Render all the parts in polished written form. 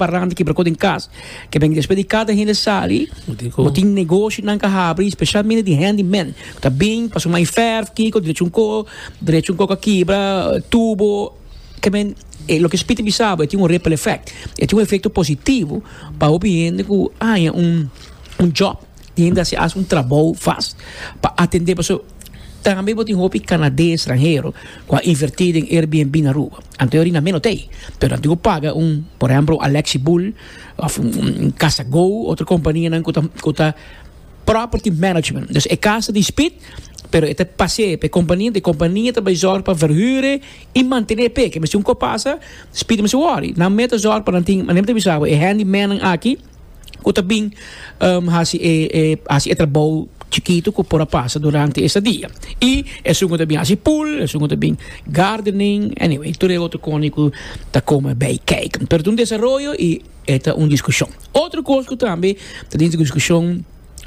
Paranda kibra ko den kas. Ke ben despues di kada hende sali, bo tin negoshinan ka habri, spesialmente di handyman. Ku ta bin pa suma e fèrf, kiko, drecha un ko, drecha un ko ka kibra, tubo. Ke men, e loke Speed ta bisa bo, e tin un ripple effect. E tin un efekto positivo pa hopi hende ku haña un un job. Tin hende a hasi un trabou vast pa atendé pasobra tambe bo tin hopi kanades stranhero ku a invertí den Airbnb na Aruba. Anto e orina meno t'ei, pero nan tin ku paga un, por ehempel, un Alexi Bull òf un Casa Go, otro kompanianan ku ta ku ta property management. Dus e kas ta di Speed, pero e ta pas'é pa e kompania, e kompania ta bai zòrg pa verhuur e i mantené p'e. Ke mester un kos pasa, Speed mester wòri. Nan mester zòrg pa nan tin, manera mi ta bisa bo, e handymannan aki, ku ta bin hasi e e hasi e trabou chikitu ku por a pasa durante esta dia. I esun ku ta bin hasi pool, esun ku ta bin gardening, anyway, tur e otro koni ku ta kome bai kijk. Pero ta un desaroyo i e ta un diskushon. Otro kos ku tambe ta den diskushon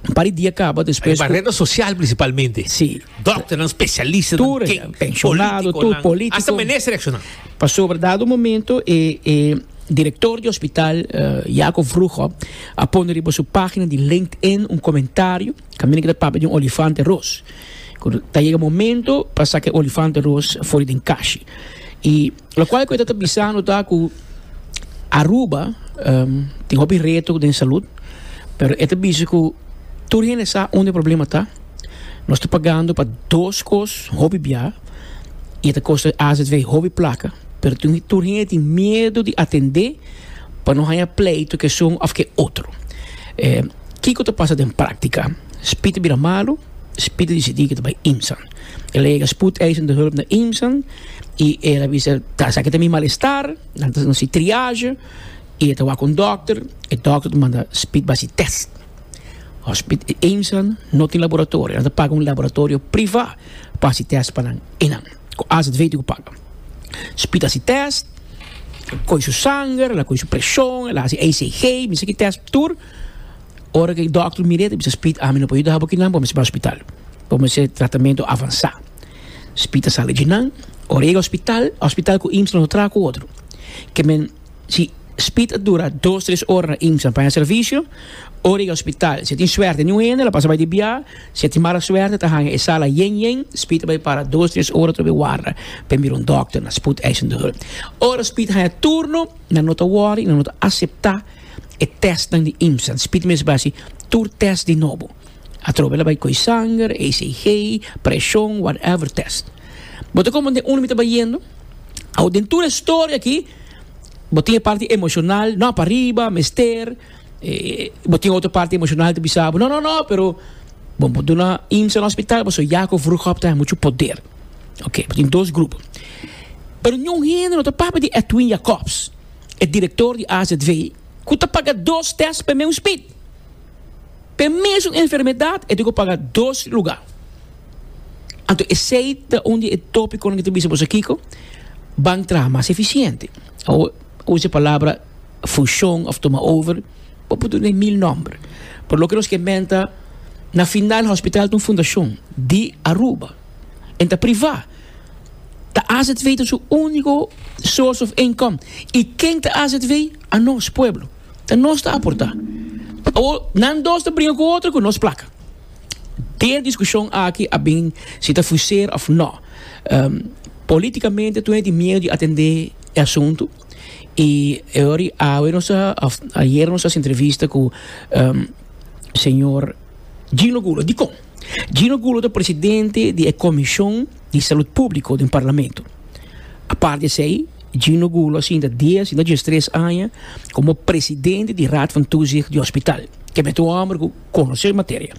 un par di dia kaba despues ku. Riba reda sosial prinsipalmente. Si. Dòkternan, spesialistanan, Tur, penshonado, tur polítiko. Asta minister reakshoná. Pasobra dado momento e e Director di hospital Jaco Vroegop a pone riba su pagina di LinkedIn un comentario caminda cu ta papia di un olifante ros. Cu ta yega momento pa saca e olifante ros for di den kashi. Y locual cu e ta bisando ta cu Aruba tin hopi reto den salud, pero e ta bisa cu tur hende sa unda e problema ta. Nos ta pagando pa dos cos hopi bia y e ta costa AZV hopi placa. Pero tin tur hende tin miedu di atendé pa no haña pleitu ku esun òf ku e otro. Kiko ta pasa den práktika? Spit a bira malu, Spit a disidí ku ta bai Imsan. El a yega spoedeisende hulp na Imsan i el a bisa, Ta esaki ta mi malestar, nan ta hasi triage i e ta wak un dòkter, e dòkter ta manda Spit bai hasi tèst. Hospit Imsan no tin laboratorio, nan ta paga un laboratorio privá pa hasi tèst pa nan einan. Ku AZV tin ku paga. Spit hasi tèst, el kohe su sanger, el a kohe su preshon, el a hasi ECG, mi sa ki tèst tur. Ora ku e dòkter mir'é ta bisa Spit, ami no por yuda bo kinan, bo mester bai hospital. Bo mester tratamentu avansá. Spit a sali djinan, ora e yega hospital, hospital ku IMSS no ta traha ku otro. Ke men. Si Speed a dura dos tres ora na IMSA pa haña servisio, ora yega hospital si e tin suerte niun hende lo pasa bai di bia, si e tin mala suerte ta haña e sala yen yen, Speed a bai para dos tres ora trobe warda pa e mira un dòkter na spoedeisende hulp. Ora Speed haña turno nan no ta wòri, nan no ta aseptá e tèstnan di IMSA. Speed mes bai hasi tur tèst di nobo. Atrobe el a bai koe sanger, ECG, preshon, whatever tèst. Bo ta komprendé unda mi ta bayendo? Awo den tur e storia aki bo tin e parti emocional, no pariba, mester, bo tin otro parti emocional ta bisa bo no no no pero bo por duna IMSA na hospital pasobra Jacob Vroegop ta mucho poder. Ok, bo tin dos grupo. Pero niun hende no ta papia di Edwin Jacobs, e director di AZV, cu ta paga dos test pa e meun speed. P'e mesun enfermedat e tin ku paga dos lugá. Anto esei ta un di e tópikonan ku ta bisa boso kiko, ban traha mas efisiente. Awor usa e palabra fushon òf tuma over, bo por duna e mil nòmber. Pero loke nos ke menta, na final hospital ta un fundashon di Aruba, en ta privá. Ta azv ta su úniko source of income. I ken ta azv? Anos, pueblo. Ta nos ta aportá. Awor, nan dos ta bringa ku otro ku nos plaka. Den diskushon aki a bin si ta fuseer òf nò. Politikamente tur hende tin miedu di atendé e asuntu i e ora awe nos a òf ayer nos a hasi entrevista ku señor Gino Gulo. Dikon? Gino Gulo ta presidente di e komishon di salud públiko den parlamento. Aparte di esei, Gino Gulo a sinta dies i no diestres aña komo presidente di Raad van Toezicht di hospital. Ke mester un hòmber ku konosé e materia.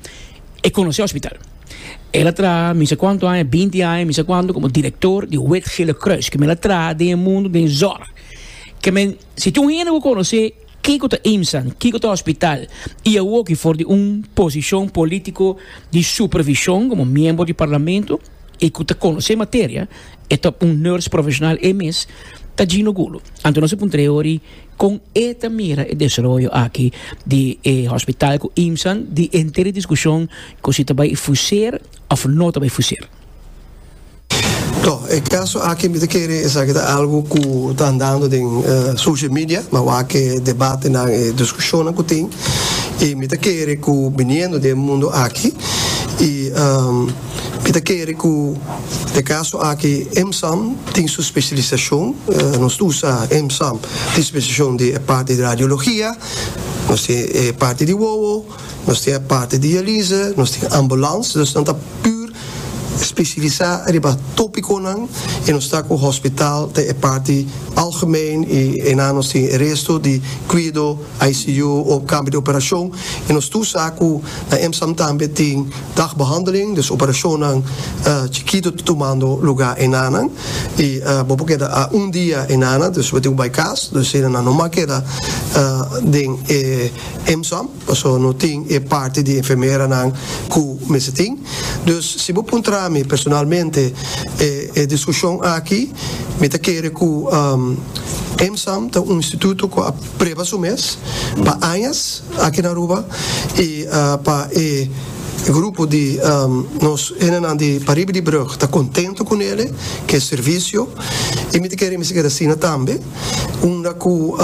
E konosé hospital. El a traha mi sa kuantu aña, binti aña, mi sa kuantu, komo direktor di Wit Gele Kruis. Ke men a traha den e mundu den zòrg. Ke men, si tin un hende ku konosé kiko ta IMSA, kiko ta hospital, i awoki for di un posishon polítiko di supervishon komo miembro di parlamento, i ku ta konosé materia, e ta un nurse profeshonal e mes, ta Gino Gulo. Anto nos a puntra e ori kon e ta mira e desaroyo aki di e hospital ku IMSAN, di henter e diskushon ku si ta bai fuseer òf no ta bai fuseer. To, e kaso aki mi ta kere esaki ta algu ku ta andando den social media, mi a wak e debatenan, e diskushonnan ku tin, i mi ta kere ku biniendo den e mundu aki i mi ta kere ku den e kaso aki EMSAM tin su spesialisashon, nos tur sa EMSAM tin spesialisashon di e parti di radiologia, nos tin e parti di wowo, Nos tin e parti di dialyse, nos tin ambulans, dus nan ta pur spesialisá riba tópikonan i nos ta ku hospital ta e parti algemeen i einan nos tin e resto di kuido, ICU o kamber di operashon i nos tur sa ku na EMSAM tambe tin dagbehandeling, dus operashonnan chikitu ta tumando lugá einanan i bo por keda a un dia einanan, dus bo tin ku bai kas, dus einanan no mag keda den e EMSAM. Pasobra no tin e parti di enfermeranan cu mester tin. Dus si bo puntra mi personalmente e e discusion aki, mi ta kere cu EMSAM ta un instituto cu a preba su mes pa añas aki na Aruba y pa e grupo di nos hendenan di pariba di brug ta contento cu nele, cu e servicio y mi ta kere mester keda asina tambe. Unda ku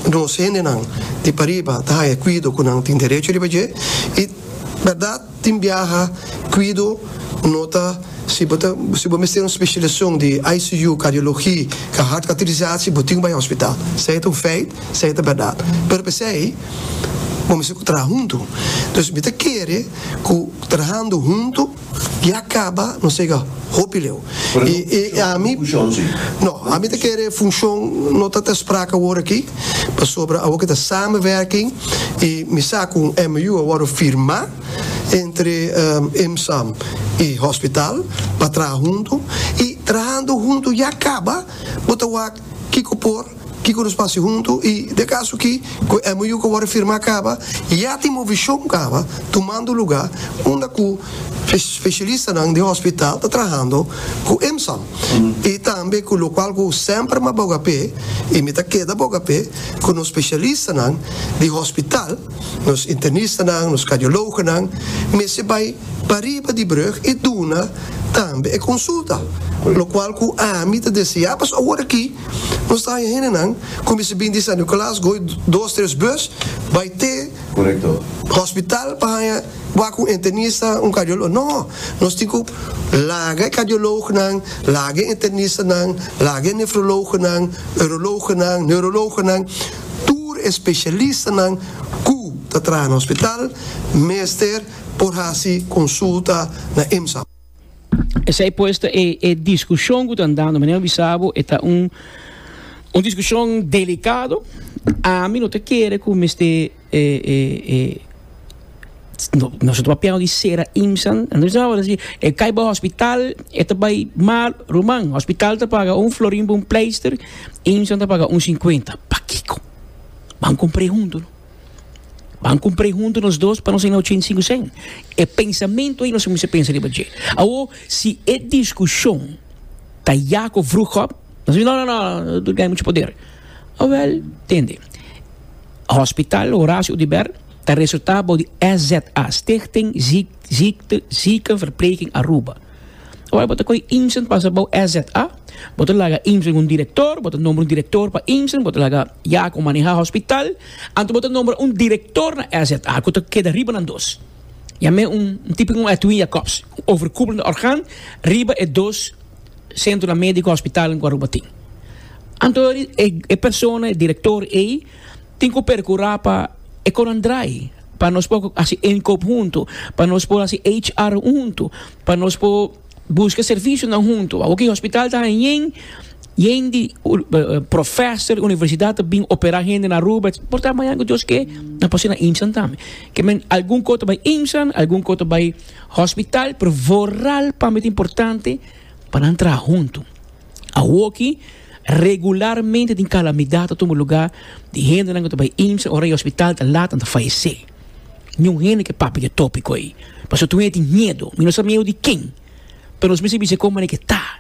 nos hendenan di pariba ta haña kuido ku nan tin derecho riba dje. I bèrdat tin biaha kuido no ta si bo ta si bo mester un spesialisashon di ICU, kardiologi, ka hartkateterisatie bo tin ku bai hospital. Esei ta un feit, esei ta bèrdat. Pero p'esei bo mester ku traha huntu. Dus mi ta kere ku trahando huntu. Ya caba nos yega hopi leu. Y ami, no, ami ta kere funcion no ta ter sprake awor aki, pasobra awor ki ta samenwerking y mi sa cu un MOU a wordo firma entre IMSAM y hospital pa traha hunto y trahando hunto ya caba bo ta wak kico por. Kiko nos por hasi huntu? I den kaso ki ku e MOU ku a wòrdu firmá kaba, ya tin movishon kaba tumando lugá unda ku spesialistanan di hospital ta trahando ku IMSAM. I tambe ku lokual ku semper mi a boga p'e i mi ta keda boga p'e ku nos spesialistanan di hospital, nos internistanan, nos kardiologonan mester bai pariba di brug i duna tambe e konsulta. Lokual ku ami ta deseá pasobra awor aki. Nos ta haña hendenan ku mester bin di San Nicolas goi dos tres bus bai te hospital pa haña wak un internista, un kardioloog. No, nos tin ku laga e kardioloognan, laga e internistanan, laga e nefroloognan, uroloognan, neuroloognan, tur e spesialistanan ku ta traha na hospital mester por hasi konsulta na IMSA. Esei pues ta e e discusion cu ta andando. Manera mi bisa bo e ta un un discusion delicado. Ami no ta kere cu mester e e e no nos no ta papiando di cera IMSA. E cay bay hospital e ta bay mal. Ruman, hospital ta paga un florin pa un pleister, IMSA ta paga un cincuenta. Pakico? Ban cumpre hunto no. Ban kumpr'é huntu nos dos pa nos hina 85 sen. E pensamentu ei nos a kuminsá pensa riba dje. Awor, si e diskushon ta Jacob Vroegop, nos a bisa, no, no, no, tur gana muchu poder. Awel, tende, Hospital Horacio Oduber ta resultá bou di SZA, Stichting Ziekte, Ziekenverpleging Aruba. Ora bo ta kohe IMSEN pasa bou SZA, bo ta laga IMSEN un direktor, bo ta nombra un direktor pa IMSEN, bo ta laga Jaco maneha hospital, anto bo ta nombra un direktor na SZA ku ta keda riba nan dos. Yam'é un tipo un Edwin Jacobs, un overkoepelende orgaan riba e dos sentronan mediko hospitalnan ku Aruba tin. Anto e persona, e direktor ei tin ku perkurá pa e konan drai, pa nos por hasi inkoop huntu, pa nos por hasi HR huntu. Pa nos por busca servicionan hunto. Awor ki hospital ta haña yen, yen di professor universidad ta bin opera hende na Aruba. Por ta mañana cu Dios ke, nan por haci na IMSAN tambe. Ke men algun co ta bay IMSAN, algun co ta bay hospital, pero vooral pa mi ta importante pa nan traha hunto. Awor ki regularmente tin calamidad ta tuma lugar di hendenan cu ta bay IMSAN ora e hospital ta laat nan ta fayece. Niun hende ke papia di e tópiko ei. Pasobra tur hende tin miedu. Mi no sa miedu di ken, pero nos mester bisa kon manera ke ta.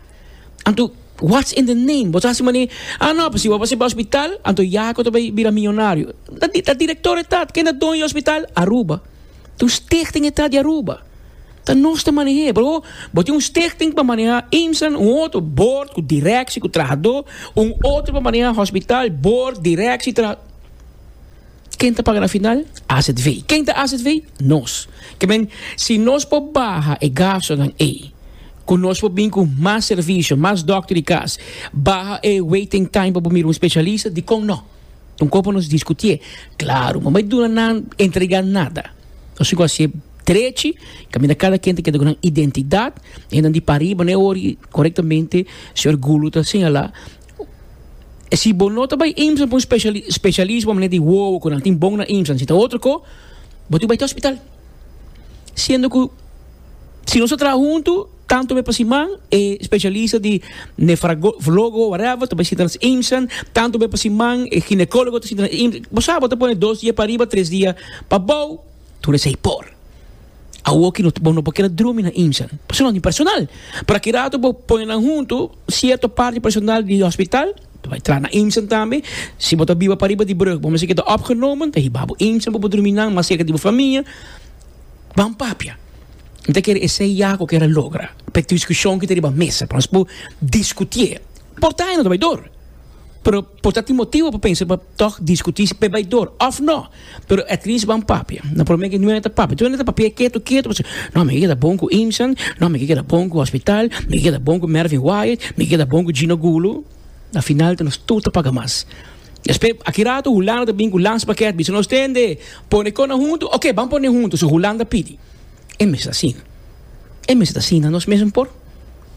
Anto, what's in the name? Bo ta hasi manera, ah no, si bo a pasa pa hospital, anto Jaco ta bai bira miyonario. Ta, ta direktor e ta. Ken ta doño di hospital? Aruba. Ta un stichting e ta di Aruba. Ta nos ta maneh'é. Pero bo tin un stichting pa manehá IMSAN, un otro board ku directie ku trahadó, un otro pa manehá hospital, board, directie, traha. Ken ta paga na final? AZV. Ken ta AZV? Nos. Ke men, si nos por baha e gastonan ei, ku nos por bin ku mas servisio, mas dòkter di kas, baha e waiting time pa bo mira un spesialista, dikon no? Un kos pa nos diskutié. Klaru, no bai duna nan entregá nada. Nos tin ku hasié drechi, kaminda kada ken ta keda ku nan identidat, hendenan di pariba no e ori korektamente, señor Gulu ta señalá. Si bo no ta bai IMSA pa un specialismo manera di wowo cu nan tin bon na IMSA, si ta otro co, bo tin bai te hospital. Siendo cu si nos ta traha hunto, tanto be pa siman e specialista di nefrologo whatever ta bai sinta na IMSA, tanto be pa siman e ginecologo ta sinta na IMSA. Bo sa bo ta pone dos dia pa riba, tres dia pa bou. Tur esei por. Awoki no bo no por keda drumi na IMSA. Pasobra no tin personal. Pero aki rato bo pone nan huntu, sierto parti personal di hospital ta bai traha na IMSA tambe. Si bo ta biba pariba di brug, bo mester keda opgenomen, ta hiba bo IMSA pa bo drumi nan mas serka di bo famia. Ban papia. Mi ta kere esei ya ku kere logra. Pa e diskushon ki ta riba mesa, pa nos por diskutié. Por ta e no ta bai dor. Pero por ta tin motibo pa pensa pa tog discuti si p'e bay door of no. Pero at least ban papia. Na prome ke nuene ta papia. Tur hende ta papia ketu ketu pasobra no mi ke keda bon ku Imsan, no mi ke keda bon ku hospital, mi ke keda bon ku Mervin Wyatt, mi ke keda bon ku Gino Gulo. Na final ta nos tur ta paga mas. Despues aki rato Hulanda ta bin ku landspakket bisa nos tende pone kona huntu, ok ban pone huntu so Hulanda pidi. E mester ta asina. E mester ta asina nos mes por.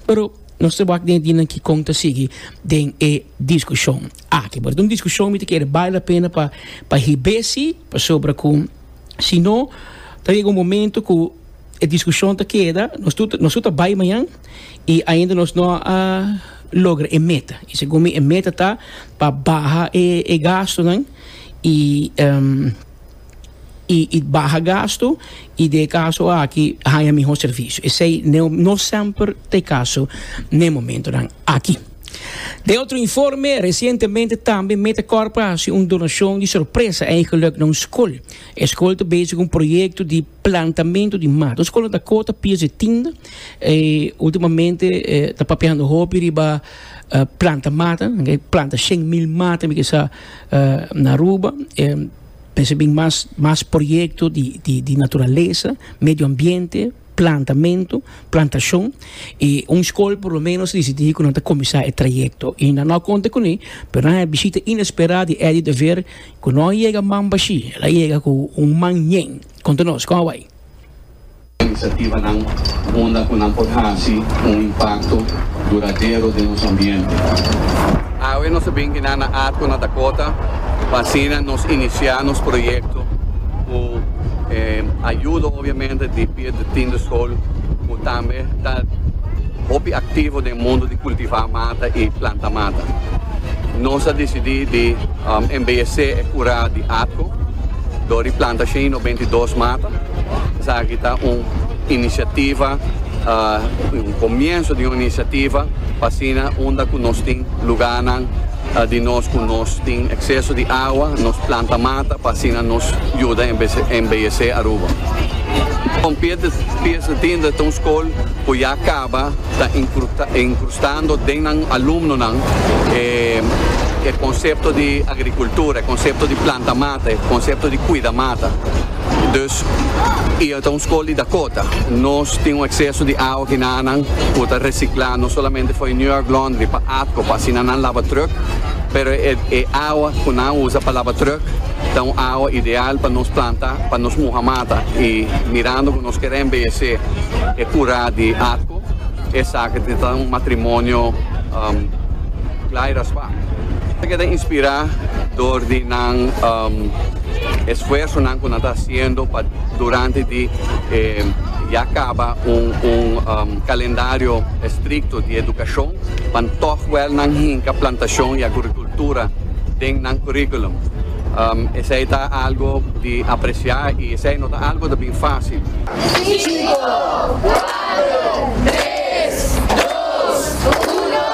Pero nos ta wak den e dianan kikon ta sigui den e diskushon aki. Pero ta un diskushon mi ta kere bale la pena pa pa hib'é si, pasobra ku si no ta yega un momento ku e diskushon ta keda, nos tur nos tur ta bai mañan i ainda nos no a logra e meta. I segun mi e meta ta pa baha e e gastunan i. i baha gastu i den e kaso aki haña mihó servisio. Esei no semper ta e kaso n'e momentonan aki. Den otro informe, resientemente tambe Metacorp a hasi un donashon di sorpresa eigenlik na un skol. E skol ta bezig ku un proyekto di plantamentu di mata. Un skol na Dakota, Piers de Tiende. Ultimamente ta papiando hopi riba planta mata, planta 100.000 mata mi ke sa na Aruba. Pensa bin mas mas proyecto di di di naturalesa, medio ambiente, plantamento, plantacion y un school por lo menos dicidi cu nan ta cuminsa e trayecto y nan no a conta cune pero nan a bishita inespera di Eddie de Veer cu no a yega man bashi, el a yega cu un man yen. Conta nos, con a bay? Inisiativanan unda ku nan por hasi un impakto duradero den nos ambiente. Awe nos a bin kinan na Atco na Dakota pa asina nos inisiá nos proyekto ku ayudo obviamente di Piet de Tiende School ku tambe ta hopi aktivo den mundu di kultivá mata i planta mata. Nos a disidí di embeyesé e kurá di Atco dor di planta 192 mata. Esaki ta un inisiativa, un komienso di un inisiativa pa asina unda ku nos tin lugánan di nos ku nos tin ekseso di awa, nos planta mata pa asina nos yuda embeyesé Aruba. Kon Pies de Tienda ta un skol ku ya kaba ta inkrustando den nan alumnonan e konsepto di agrikultura, e konsepto di planta mata, e konsepto di kuida mata. Dus, i e ta un skol di Dakota. Nos tin un ekseso di awa kinanan ku ta resiklá no solamente for e New York Laundry pa Atco pa asina nan laba trùk, pero e e awa ku nan usa pa laba trùk ta un awa ideal pa nos planta, pa nos muha mata. I mirando ku nos kere embeyesé e kurá di Atco, esaki ta un matrimonio kla i raspá. Ta keda inspirá dor di nan. Esfuersonan ku nan ta hasiendo pa durante di e ya kaba un un kalendario estrikto di edukashon pa tòg wèl nan hinka plantashon i agrikultura den nan kurikulum. Esei ta algu di apresiá i esei no ta algu ta bin fásil. Sinku, kuater, tres, dos, uno.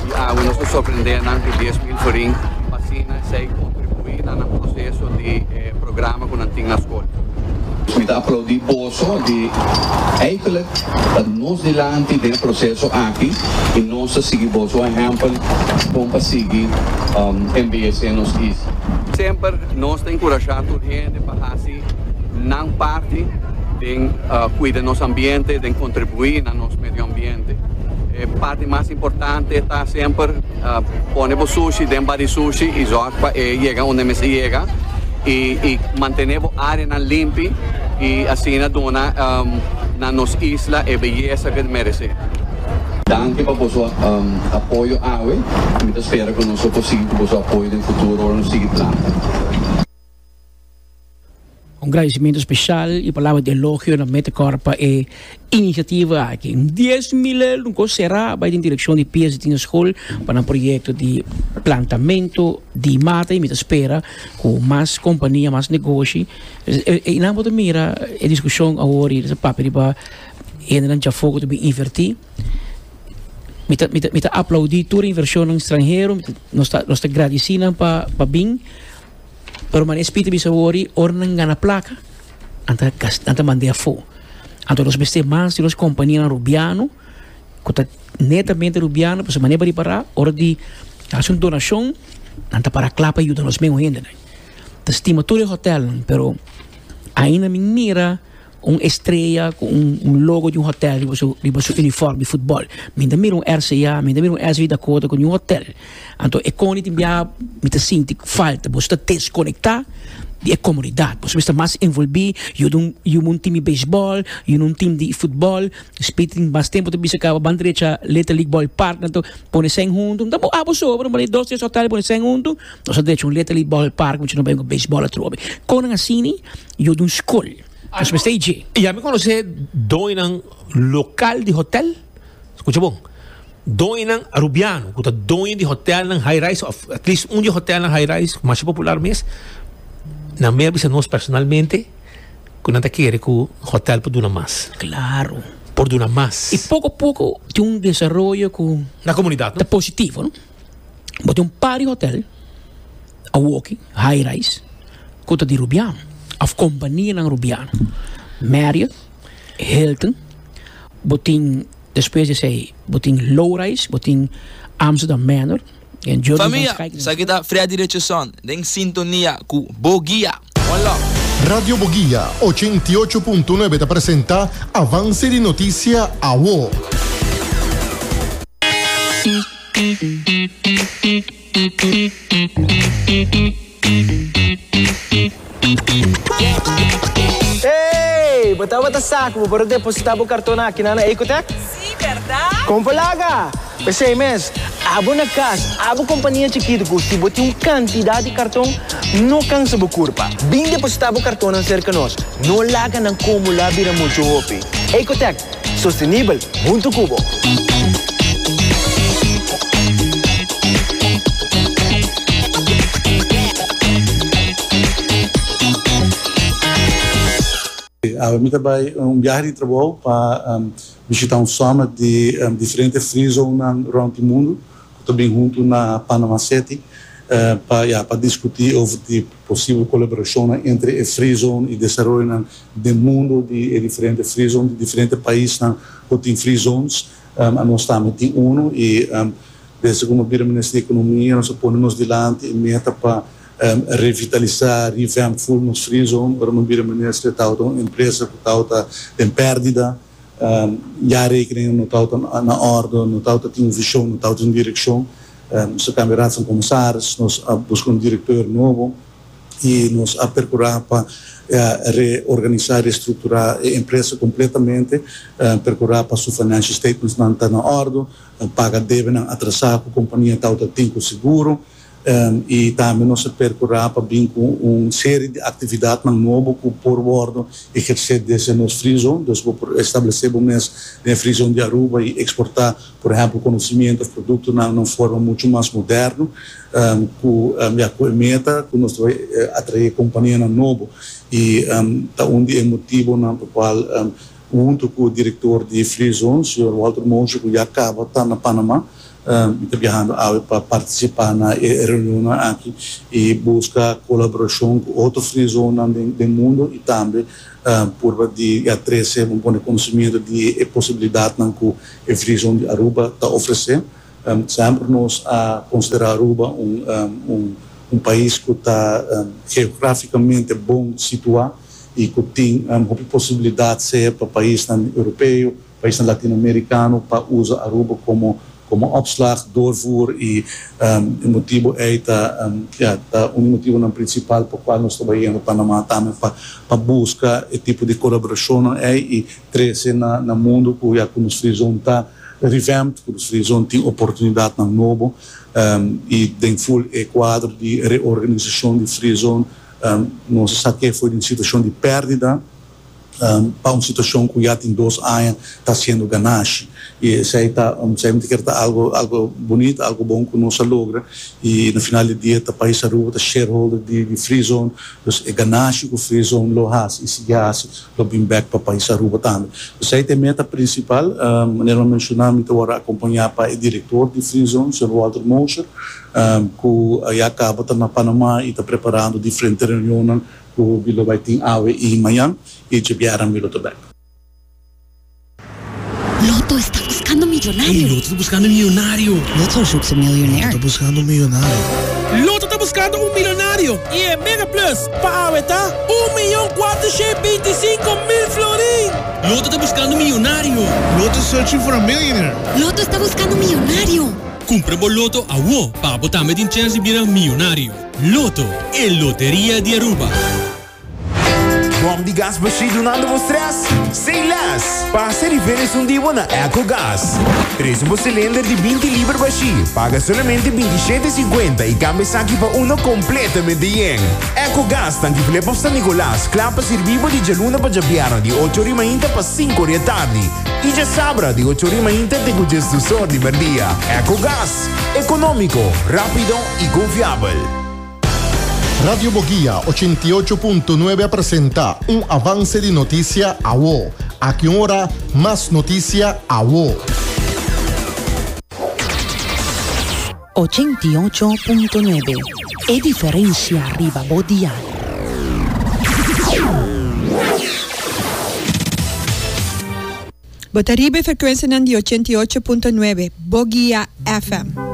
I awe nos ta sorprendé nan ku 10,000 florin pa asina esei kontribuí. kontribuí na nan proseso di e programa ku nan tin na skol. Mi ta aplaudí boso di eigenlijk ta nos dilanti den e proseso aki i nos ta sigui boso ehèmpel kon pa sigui embeyesé nos isla. Semper nos ta enkurashá tur hende pa hasi nan parti den kuida nos ambiente, den kontribuí na nos medio ambiente. E parti mas importante ta semper pone bo sushi den bar di sushi i zòrg pa e yega unda e mester yega i mantené bo áreanan limpi i asina duna na nos isla e beyesa ku e meresé. Danki pa boso apoyo awe. Mi ta spera ku nos lo por sigui ku boso apoyo den futuro ora nos sigui planta. Un gradicimento special y palabra di elogio na Metacor pa e iniciativa aki. Un 10,000 euro un cos cera bay den direccion di Pies di Tina School pa nan proyecto di plantamento di mata y mi ta spera cu mas compania, mas negoshi. Y nan bo ta mira e discusion awor y ta papia riba hendenan djafo cu ta bin inverti. Mi ta, mi ta, mi ta aplaudi tur inversionnan stranhero, nos ta, nos ta gradici nan pa, pa bin. Pero manera Spiritu bisa wori, ora nan gana plaka, nan ta gasta, nan ta mand'é afó. Anto nos mester mas di nos kompanianan rubiano, ku ta netamente rubiano, pasobra manera bo ripará, ora di hasi un donashon, nan ta para kla pa yuda nos mesun hendenan. Ta stima tur e hotèlnan, pero ainda mi mira. Un estrea ku un logo di un hotel riba su riba su uniform di futbol. Mi ta mira un RCA, mi ta mira un SV Dakota ku niun hotel. Anto e koni tin biaha mi ta sinti falta. Boso ta deskonektá di e komunidat. Boso mester mas envolbí, yuda un yuda un tim di beisbòl, yuda un tim di futbòl. Speed tin mas tempu ta bisa kaba ban drecha Little League Ballpark anto pone sèn huntu. Ta bo abo sobra un dos tres hotel pone sèn huntu. Nos a drecha un Little League Ballpark mucha no bai ku beisbòl atrobe. Konan asina yuda un skol. Nos mester i dje. Ya mi konosé doñonan lokal di hotel, skucha bon, doñonan arubiano ku ta doño di hotelnan high rise òf at least un di e hotelnan high rise masha popular mes, nan mi a bisa nos personalmente ku nan ta kere ku hotel por duna mas. Klaro. Por duna mas. I poko poko tin un desaroyo ku. Na komunidat, no? Ta positivo, no? Bo tin un par di hotel. Awoki, high rise, ku ta di Rubiano òf kompanianan Rubiano. Marriott, Hilton, bo tin despues di esei bo tin low rise, bo tin Amsterdam Manor en Jurgen van Famia, Schaik. esaki ta Freddy Richardson den sintonia ku Bo Guia. One love. Radio Boguia 88.9 ta presenta Avance di Noticia Awo. Hey! Bo tabata sa ku bo por a depositá bo karton akinan na Ecotech? Sí, bèrdat? Kon por laga! P'esei mes, abo na kas, abo kompania chikitu ku si bo tin un kantidat di karton, no kansa bo kurpa. Bin depositá bo kartonnan serka nos. No laga nan kumulá bira muchu hopi. Ecotech, Sostenibel huntu ku bo. Awe mi ta bai un biahe di trabou pa bishita un summit di diferente free zonenan rond di mundu ku ta bin huntu na Panama City pa ya pa diskuti over di posibel kolaborashonnan entre e free zone i desaroyonan Den mundo di e diferente free zone di diferente paisnan cu tin free zones, anos tambe tin uno y desde cu mi a bira Minister di Economia nos a pone nos dilanti e meta pa revitalisa, revamp full nos free zone. Ora mi a bira Minister e tabata un empresa cu tabata den perdida, jaarrekeningen no tabata na orde, no tabata tin un vision, no tabata tin un direccion. Nos a cambia Raad van Commissaris, nos a busca un directeur nobo. y nos a percura pa reorganisa, restructura e empresa completamente, percura pa su financial statements nan ta na ordo, paga debenan atrasa cu compania tawata tin cu seguro y tambe nos a percura pa bin cu un serie di actividadnan nobo cu por wordo eherce desde nos free zone, dus bo por establece bo mes den e free zone di Aruba y exporta por ehempel conocimiento of productonan na un forma mucho mas moderno. Ku ya ku e meta ku nos ta bai atraé kompanianan nobo i ta un di e motibonan pa kual huntu ku direktor di Free Zone, señor Walter Moshe ku ya kaba ta na Panama. Mi ta biahando awe pa partisipá na e reunionnan aki i buska kolaborashon ku otro free zonenan den mundu i tambe purba di ya trese un pone konosimiento di e posibilidatnan ku e free zone di Aruba ta ofresé. Semper nos a konsiderá Aruba un un pais ku ta geografikamente bon situá i ku tin hopi posibilidat sea pa paisnan europeo, Paisnan Latinoamericano pa usa Aruba como como opslag, doorvoer y e motibo ey ta ya ta un di motibonan principal pa cual nos ta bayendo Panama tambe pa pa busca e tipo di colaboracionnan ey y trece na na mundo cu ya cu nos free zone ta revamped, cu nos free zone tin oportunidadnan nobo y den full e cuadro di reorganisacion di free zone nos a sa ke for di un situacion di perdida. pa un situacion cu ya tin dos aña ta haciendo ganashi. Y esey ta, esey mi ta kere ta algo, algo bonito, algo bon cu nos a logra. Y na final di dia ta pais Aruba ta shareholder di di Free Zone, dus e ganashi cu Free Zone lo haci y sigui haci lo bin bek pa pais Aruba tambe. Esey ta e meta principal. Manera mi a menciona mi ta worde acompaña pa e director di Free Zone, señor Walter Mosher, cu ya caba ta na Panama y ta preparando diferente reunionnan Ku mi lo bai tin awe i mañan i djebièrnè mi lo ta bèk. Lotto está buscando millonario. Ey, Lotto ta buscando millonario. Lotto zoekt een miljonair. Lotto ta buscando un millonario. Lotto ta buscando un milonario y e Mega Plus pa awe ta un miyon cuatrocientos binticinco mil florin! Lotto ta buscando un millonario. Lotto is searching for a millionaire. Lotto está buscando un millonario. Cumpra bo Lotto awo pa bo tambe tin chance di bira miyonario. Lotto, e loteria di Aruba. Bom di gas bashí dunando bo stress? Say less! Pasa riba esun di bo na Ecogas. Trese bo cilinder di binti liber bashí, paga solamente 27 cincuenta y cambia esaki pa uno completamente yen. Ecogas tanki Flip of San Nicolas, kla pa sirbi bo di djaluna pa djabièrnè di ocho ori mainta pa sinku ori atardi y djasabra di ocho ori mainta te ku djesdus or di merdia. Ecogas, economico, rapido y confiabel. Radio Boguia 88.9 a presenta un avance di noticia awo. Aki un ora, mas noticia awo. 88.9 E diferencia riba bo dial. Bo ta riba e frekuensianan di 88.9 Boguia FM.